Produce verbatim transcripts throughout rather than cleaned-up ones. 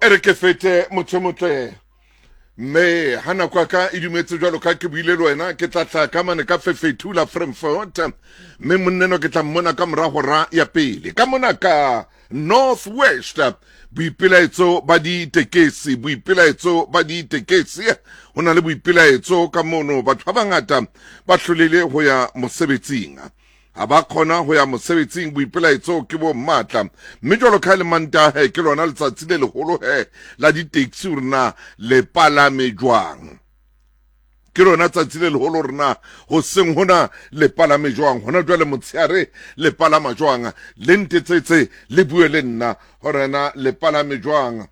E re ke fete motho motle mme ha nako ya ka e dumetse jwalo ka ke buile le wena, ke tla tla ka mane ka Fefethula Frankfurt, mme monneno ke tla mmona ka mora hora ya pele ka mona ka North West. Boipelaetso ba ditekesi, boipelaetso ba ditekesi, ho na le boipelaetso ka mono. Batho ba bangata ba hlolehile ho ya mosebetsing, ha ba kgona ho ya mosebetsing. Boipelaetso ke bo matla, mme jwalo ka le Mantahe ke lona letsatsi le leholo he la di-taxi, hore na le palame jwang. Ke lona tsatsi le leholo hore na hoseng hona le palame jwang, hona jwale motshehare le palama jwang. Le ntetsetse le bue le nna hore na le palame jwang.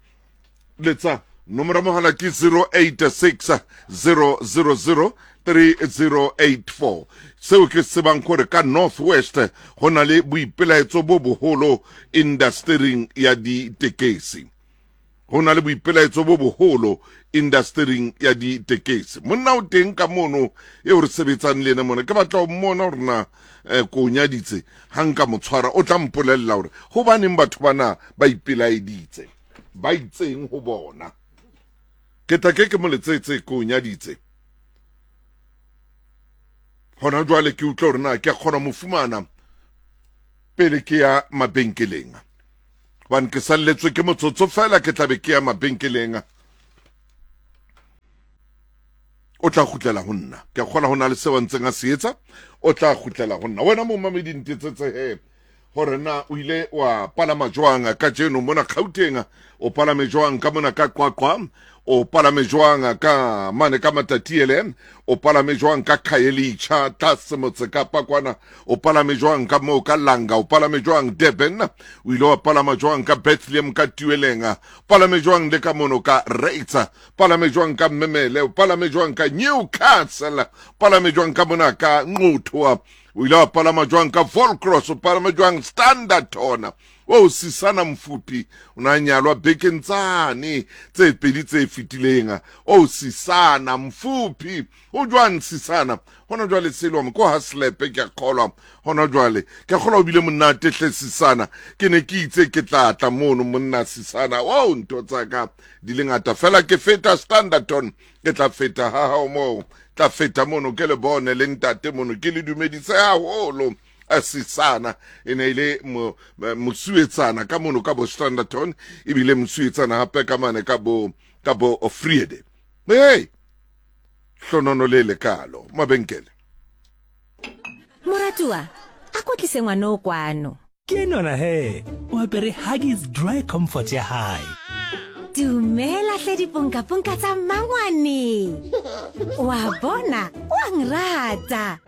Letsa nomoro ya mohala ke zero eight six zero zero zero three zero eight four. Seo ke tsebang hore ka North West ho na le boipelaetso bo boholo industering ya ditekesi, ho na le boipelaetso bo boholo industering ya ditekesi. Monna o teng ka mono eo re sebetsang le yena mona, ke batla ho mmona hore na eh, ko nyaditse. Ha nka mo tshwara o tla mpolella hore hobaneng batho bana ba ipelaeditse, ba itseng ho bona. Ke tla ke ke mo letsetse, ko nyaditse hona jwale, ke utlwe hore na ke a kgona mo fumana pele ke ya mabenkeleng, hobane ke salletswe ke motsotso fela, ke tlabe ke ya mabenkeleng. O tla kgutlela ho nna, ke a kgona ho na le seo a ntseng a se etsa, o tla kgutlela ho nna. Wena momamedi ntetsetse he hore na o ile wa palama jwang kajeno mona Gauteng, o palame jwang ka mona ka Qwaqwa, o palame jwang ka mane ka Matatiele, o palame jwang ka Khayelitsha tlase motse Kapa kwana, o palame jwang ka moo ka Langa, o palame jwang Durban, o ile wa palama jwang ka Bethlehem ka Tueleng, palame jwang le ka mono ka Reitsa, palame jwang ka Mmemele, o palame jwang ka Newcastle, palame jwang ka mona ka Nquthu, o ile wa palama jwang ka Volcross, o palame jwang Standerton. O Sisana Mfuphi o na nyalwa bekeng tsane tse pedi tse fetileng. O Sisana Mfuphi, o jwang Sisana hona jwale? Selwa ko ha slepe, ke a kgolwa hona jwale, ke a kgolwa o bile monate hle Sisana. Ke ne ke itse ke tla tla mono monna Sisana, o ntho tsa ka di le ngata fela. Ke feta Standerton, ke tla feta ha hao moo, tla feta mono ke le bone le ntate mono, ke le dumedise haholo. Sisana e ne e le mosuetsana ka mono ka bo Standerton, ebile mosuetsana hape ka mane ka bo ka bo Friede. Hey, hlonono le lekalo mabenkele. Moratuwa, a kotlise ngwana o kwano. Ke nona he, o apere Huggies Dry Comfort ya hae. Dumela hle diponkaponka tsa mmangwane. Wa bona, wa nrata.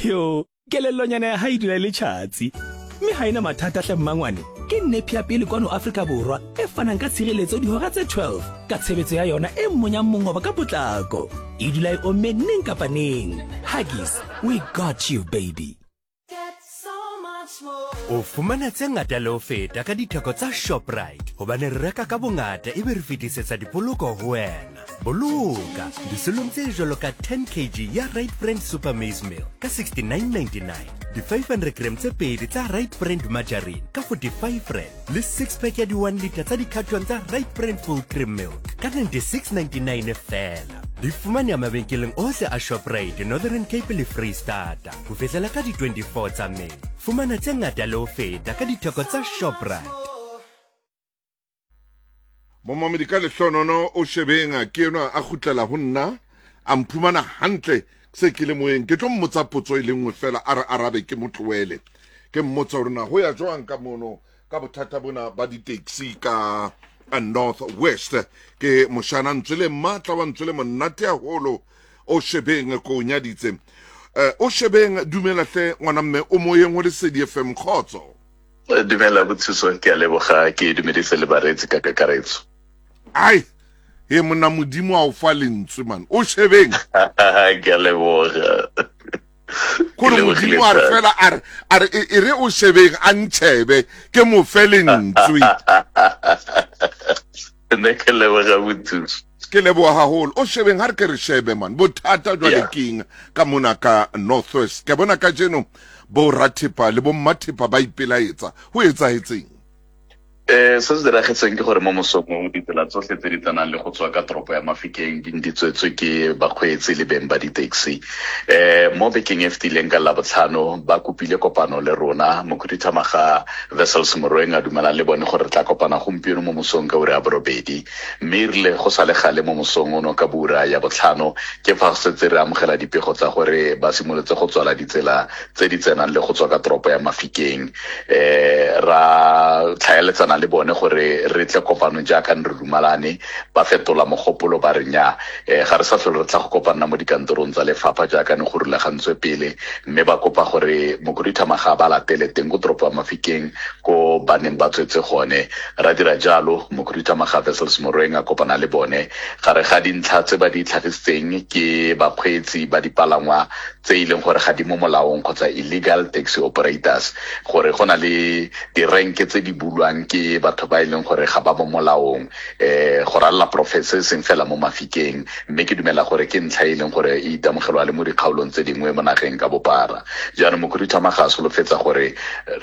Yo, kelellonyana ya hae dula e le tjhatsi. Mme ha ena mathata hle mmangwane. Ke nepi ya pele kwano Afrika Borwa e fanang ka tshireletso dihora tse twelve ka tshebetso ya yona e monyang mongoba ka potlako. E dula e omme neng kapa neng. Huggies, we got you baby. O fumana tse ngata le ho feta ka ditheko tsa Shoprite, hobane re reka ka bongata ebe re fetisetsa dipoloko ho wena. Boloka disolong tse jwalo ka ten kilograms ya Right Brand Super Maize Meal ka sixty-nine ninety-nine, di five hundred gram tse pedi tsa Right Brand Margarine ka forty-five rand, le six pack ya di one liter tsa di-carton tsa Right Brand Full Cream Milk ka ninety-six ninety-nine fela. Di fumaneha mabenkeleng ohle a Shoprite, Northern Cape le Freistata ho fihlela ka di twenty-four tsa May. Fumana tse ngata le ho feta ka ditheko tsa Shoprite. Momamedi ka lehlonono o shebeng ke enwa a kgutlela ho nna, a mphumana hantle se ke le moyeng. Ke tlo mmotsa potso e le nngwe fela, a re arabe ke mo tlohele. Ke mmotsa hore na ho ya jwang ka mono ka bothata bona ba di-taxi ka North West. Ke moshana ntswe le matla wa ntswe le monate haholo o shebeng ko nyaditse. O shebeng, dumela hle ngwana mme, o moyeng ho Lesedi F M, kgotso. Dumela Bothuso, ke a leboga, ke dumedise le bareetsi ka kakaretso. Ai, he monna Modimo a o fa lentswe man, o shebeng. Ke a leboga. Kore Modimo a re fela a re a re e re o shebeng a ntshebe ke mo fe lentswe. Nne ke leboga Bothuso. Ke leboga haholo. O shebeng ha re ke re shebe man, bothata jwale keng ka mona ka North West. Ke bona kajeno Bo rathepa le bo mmathepa ba ipelaetsa. Ho etsahetseng? Eh se se diragetseng ke gore mo mosong ditsela tsotlhe tse di tsenang le go tswa ka toropo ya Mafikeng di di tswetswe ke bakgweetsi le beng ba di-taxi. Eh mo bekeng e fetileng ka Labotlhano ba kopile kopano le rona, mokhuduthamaga Wessels Morweng a dumelana le bone gore re tla kopana gompieno mo mosong ka ura ya borobedi, mme e rile go sa le gale mo mosong ono ka ura ya botlhano ke fa setse re amogela dipego tsa gore ba simolotse go tswala ditsela tse di tsenang le go tswa ka toropo ya Mafikeng. Eh ra tlhaeletsana le bone gore re tle kopano jaaka re dumalane, ba fetola mogopolo ba re nya eh ga re sa tlhole re tla go kopana mo dikantorong tsa lefapha jaaka ne go rulagantswe pele, mme ba kopa gore mokhuduthamaga ba latele teng ko toropo ya Mafikeng ko ba neng ba tswetse gone. Ra dira jalo, mokhuduthamaga Wessels Morweng a kopana le bone. Gare ga dintlha tse ba di tlhagisitseng ke bakgweetsi ba dipalangwa tse e leng gore ga di mo molaong kgotsa illegal taxi operators, gore go na le direnke tse di bulwang ke batho ba e leng gore ga ba mo molaong eh go ralla profese e seng fela mo Mafikeng, mme ke dumela gore ke ntlha e leng gore e itemogelwa le mo dikgaolong tse dingwe mo nageng ka bophara. Jaanong mokhuduthamaga a solofetsa gore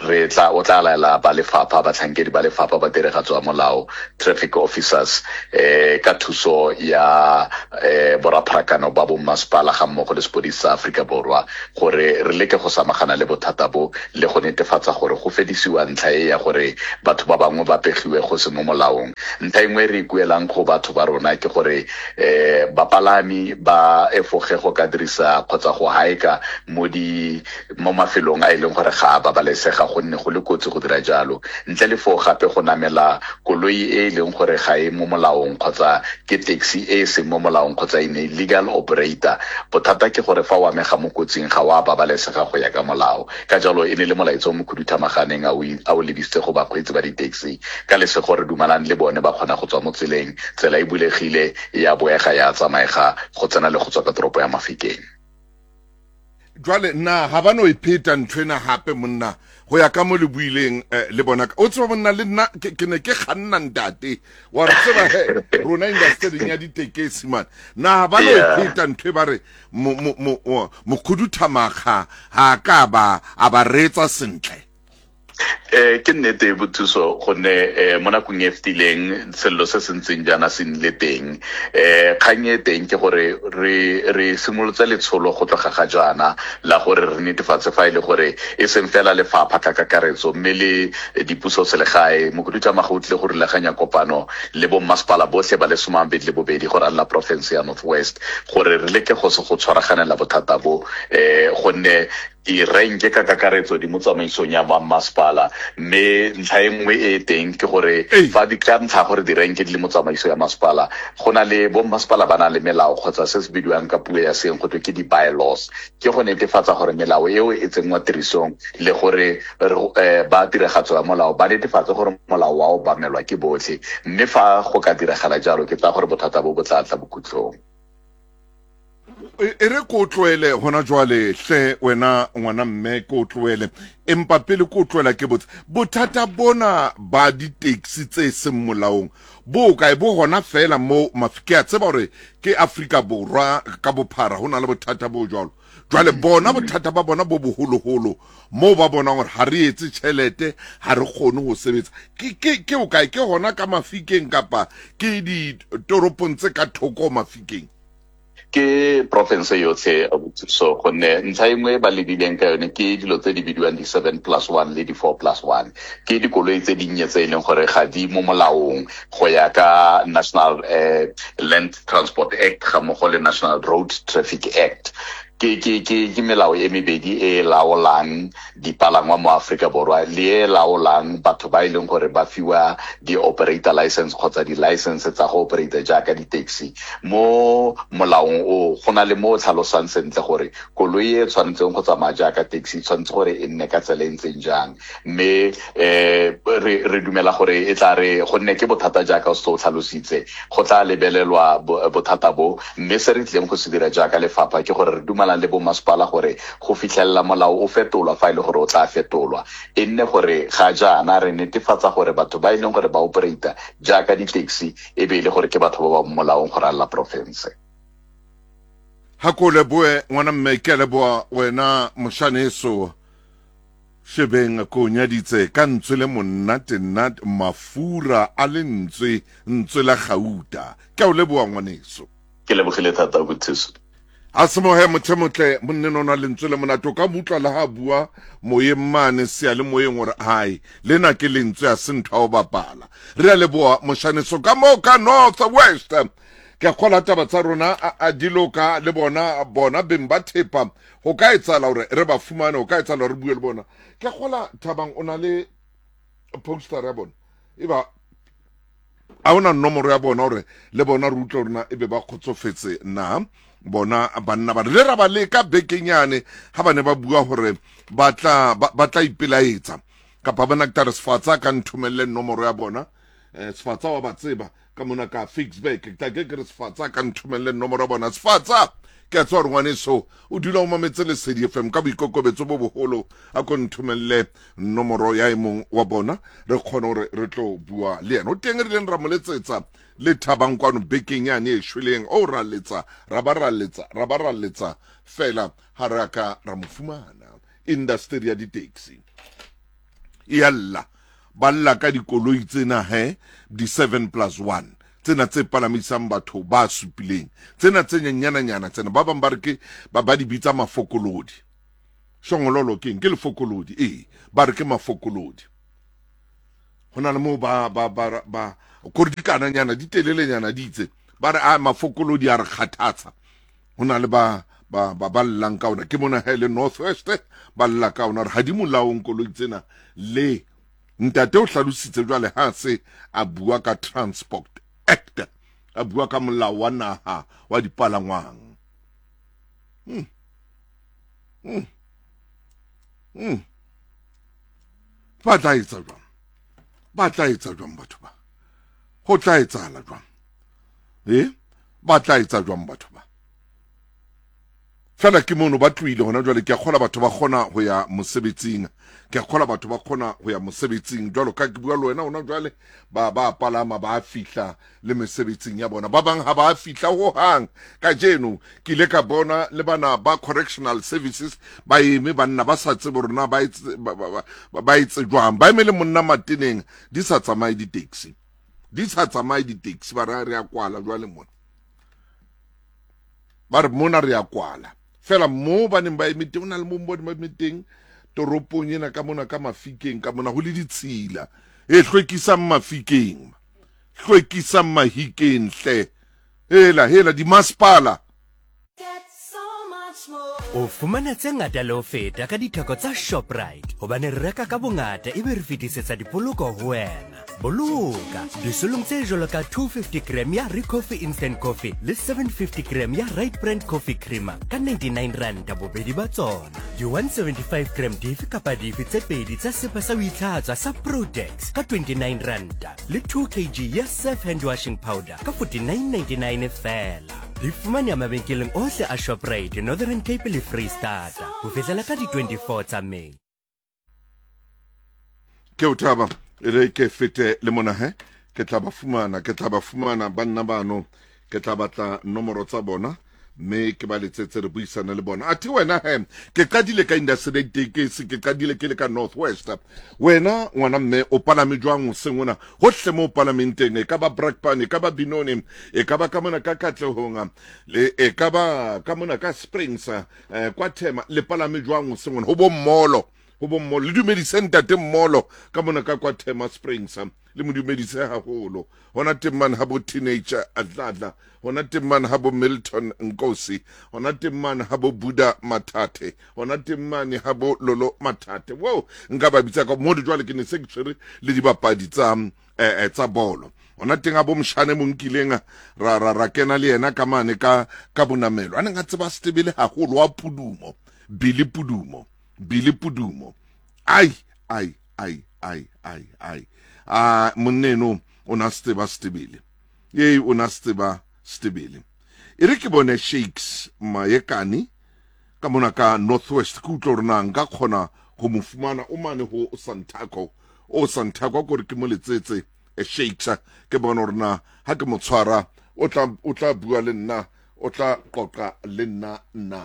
re tla o tla laela ba lefapha, batlhankedi ba lefapha ba tiragatso ya molao, traffic officers, eh ka thuso ya eh borapharakano ba bommasepala ga mmogo le sepodisi sa Aforika Borwa, gore re leke go samagana le bothata bo le go netefatsa gore go fedisiwa ntlha e ya gore batho ba bangwe ba pegiwe go se mo molaong. Ntlha engwe re ikuelang go batho ba rona ke gore eh bapalami ba efoge go ka dirisa kgotsa go haeka mo di mo mafelong a e leng gore ga a babalesega, gonne go le kotsi go dira jalo. Ntle le foo gape go namela koloi e e leng gore ga e mo molaong kgotsa ke taxi e e seng mo molaong kgotsa e illegal operator, bothata ke gore fa o amega mo kotsing ga wa babalesega go ya ka molao. Ka jalo e ne le molaetsa o mokhuduthamaganeng a o lebisitse go bakgweetsi ba di-taxi. Ka lesego re dumalane le bone ba kgona go tswa mo tseleng, tsela e bulegile ya boega ya tsamaega go tsena le go tswa ka toropo ya Mafikeng. Jwale na ha ba no e pheta nthwena hape monna go ya ka mo le buileng le bona o tseba monna le nna ke ne ke kganna ntate wa re tseba he rona industry ya ditekesi man na ha ba no e pheta ntho ba re mokhuduthamaga ha ka ba a ba retsa sentle. Eh ke nnete bothuso gonne eh mo nakong e fetileng sello se se ntseng jaana se nnile teng. Eh kgang e teng ke gore re re simolotse letsholo go tloga ga jaana la gore re netefatse fa e le gore e seng fela lefapha ka kakaretso mme le dipuso selegae. Mokhuduthamaga o tlile go rulaganya kopano le bommasepala botlhe ba le some a mabedi le bobedi go ralla porofense ya North West gore re leke go se go tshwaraganela bothata bo, eh gonne direnke ka kakaretso di mo tsamaisong ya masepala. Mme ntlha e nngwe e teng ke gore fa di ka ntlha gore direnke di le mo tsamaiso ya masepala, go na le bommasepala ba na le melao kgotsa se se bidiwang ka puo ya seeng go twe ke di-bylaws, ke go netefatsa gore melao eo e tsenngwa tirisong le gore ba tiragatso ya molao ba netefatse gore molao wa obamelwa ke botlhe. Mme fa go ka diragala jalo ke tsaya gore bothata bo bo tla tla bokhutlong. E re ko tloele hona jwale hle wena ngwana mme ko tloele, empa pele ko tloela ke botse bothata bona ba di-taxi tse seng molaong bo kae? Bo hona fela mo ke a tseba hore ke Afrika Borwa ka bophara ho na le bothata bo jwalo. Jwale bona bothata ba bona bo boholoholo moo ba bonang hore ha re etse tjhelete, ha re kgone ho sebetsa, ke ke ke o kae? Ke hona ka Mafikeng kapa ke ditoropong tse ka thoko Mafikeng? Ke province yotlhe so gonne ntlha e nngwe ba lebileng ka yone ke dilo tse di bidiwang di seven plus one le di four plus one, ke dikoloi tse dinnye tse e leng gore ga di mo molaong go ya ka National eh, Land Transport Act ga mmogo le National Road Traffic Act. Ke ke ke ke melao e mebedi e laolang dipalangwa mo Afrika Borwa le e laolang batho ba e leng gore ba fiwa di-operator license kgotsa di-license tsa go operator jaaka di-taxi. Mo molaong o go na le mo o tlhalosang sentle gore koloi e tshwanetseng go tsamaya jaaka taxi tshwanetse gore e nne ka tsela e ntseng jang, mme eh re re dumela gore e tla re gonne ke bothata jaaka o se o tlhalositse go tla lebelelwa bothata bo, mme se re tlileng go se dira jaaka lefapha ke gore re dumela le bommasepala gore go fitlhelela molao o fetolwa fa e le gore o tla fetolwa, e nne gore ga jaana re netefatsa gore batho ba e leng gore ba operator jaaka di-taxi e be e le gore ke batho ba ba molaong go ralla porofense. Ha ko leboe ngwana mme, ke a leboa wena moshaneso. Shebeng ko nyaditse ka ntswe le monate nna mafura a lentswe ntswe la gauta. Ke a o leboha ngwaneso. Ke lebogile thata bothuso. A semohe motho motle monne nona lentswe le monate o ka butlwa le ha bua moyeng mane sea le moyeng hore hai lena ke lentswe a se ntho ya ho bapala. Re a leboha moshaneso ka moo ka North West. Ke a kgola taba tsa rona a di loka le bona bona beng ba thepa ho ka etsahala hore re ba fumane, ho ka etsahala hore re bue le bona. Ke a kgola Thabang o na le poster ya bona e ba a ona nomoro ya bona hore le bona re utlwe rona ebe ba kgotsofetse na bona banna ba re ra ba leka bekenyane ha bane ba bua hore ba tla ba tla ipelaetsa kapa bana ke tare Sefatsa ka nthomelle nomoro ya bona. Eh Sefatsa wa ba tseba ka mona ka Ficksburg ke tla ke re Sefatsa ka nthomelle nomoro ya bona. Sefatsa ke a tswa re ngwaneso o dula o mametse Lesedi F M ka boikokobetso bo boholo, a ko nthomelle nomoro ya e mong wa bona re kgone hore re tlo bua le yena. O teng re leng ra mo letsetsa le Thabang kwano bekeng yane e shweleng, o ra letsa ra ba ra letsa ra ba ra letsa fela ha re ka ra mo fumana. Industry ya di-taxi e a lla, ba lla ka dikoloi tsena he di seven plus one tsena tse palamisang batho ba supileng tsena tse nyenyananyana tsena ba bang ba re ke ba ba di bitsa mafokolodi. Shongololo keng ke lefokolodi, ee ba re ke mafokolodi. Ho na le moo ba ba ba ba kore dikananyana di telelenyana di itse ba re a mafokolodi a re kgathatsa. Ho na le ba ba ba ba llang ka ona ke mona ha e le North West ba lla ka ona re ha di molaong koloi tsena. Le ntate o hlalositse jwale ha se a bua ka Transport Act, a bua ka molao wa naha wa dipalangwang. Hmm. Hmm. Hmm. Ba tla etsa jwang? Ba tla etsa jwang batho ba? Ho tla etsahala jwang? Eh? Ba tla etsa jwang batho ba? Fela ke mono ba tlohile hona jwale. Ke a kgola batho ba kgona ho ya mosebetsing, ke a kgola batho ba kgona ho ya mosebetsing jwalo ka ke bua le wena hona jwale ba ba palama ba fihla le mesebetsing ya bona. Ba bang ha ba fihla ho hang. Kajeno ke ile ka bona le bana ba correctional services ba eme banna ba sa tsebe rona ba etse ba etse jwang, ba eme le monna mateneng di sa tsamaye di-taxi, di sa tsamaye di-taxi ba re re a kwala jwale mona, ba re mona re a kwala fela mo ba neng ba eme teng. O na le mo ba neng ba eme teng toropong ena ka mona ka Mafikeng ka mona ho le ditshila e hlwekisang Mafikeng, hlwekisang Mahikeng hle hela hela di masepala. O fumana tse ngata le ho feta ka ditheko tsa Shoprite hobane re reka ka bongata ebe re fetisetsa dipoloko ho wena. Boloka disolong tse jwalo ka two fifty gram ya Recoffee Instant Coffee le seven fifty gram ya Right Brand Coffee Creamer ka ninety-nine rand bobedi ba tsona. Di one seventy-five gram dife kapa dife tse pedi tsa sepa sa ho itlhatswa sa Protex ka twenty-nine rand le two kilograms ya Surf Hand Washing Powder ka forty-nine ninety-nine fela. Di fumaneha mabenkeleng ohle a Shoprite, Northern Cape le Freestata ho fihlela ka di twenty-four tsa May. Ke o thaba re ke fete le mona he ke tla ba fumana, ke tla ba fumana banna bano, ke tla batla nomoro tsa bona mme ke ba letsetse re buisana le bona. Athe wena he ke qadile ka industry tekesi, ke qadile ke le ka North West. Wena ngwana mme o palame jwang hoseng ona hohle mo palameng teng, e ka ba Brakpan, e ka ba Benoni, e ka ba ka mona ka Katlehong, le e ka ba ka mona ka Springs, eh, kwa Thema, le palame jwang hoseng ona ho bo mmolo, ho bo mmolo le dumedise ntate mmolo ka mona ka kwa Thema Springs, le mo dumedise haholo. Hona teng mane ha bo teenager Adladla, hona teng mane ha bo Milton Nkosi, hona teng mane ha bo Buddha Mathathe, hona teng mane ha bo Lolo Mathathe. Wo nka ba bitsa ka mo jwale ke ne se ke tshwere le dibapadi tsa eh tsa bolo. Hona teng ha bo Mshane mo nkileng ra ra ra kena le yena ka mane ka ka bonamelo. A neng a tseba Setebele haholo wa Pudumo, Billy Pudumo, Billy Pudumo. Ai ai ai ai ai ai. Ah monneno o na tseba Setebele. Ee o na tseba Setebele. E re ke bone Shakes Mayekani ka mona ka Northwest, ke utlwa hore na nka kgona ho mo fumana o mane ho Santaco, o Santaco kore ke mo letsetse e Shakes, ke bone hore na ha ke mo tshwara o tla o tla bua le nna, o tla qoqa le nna na.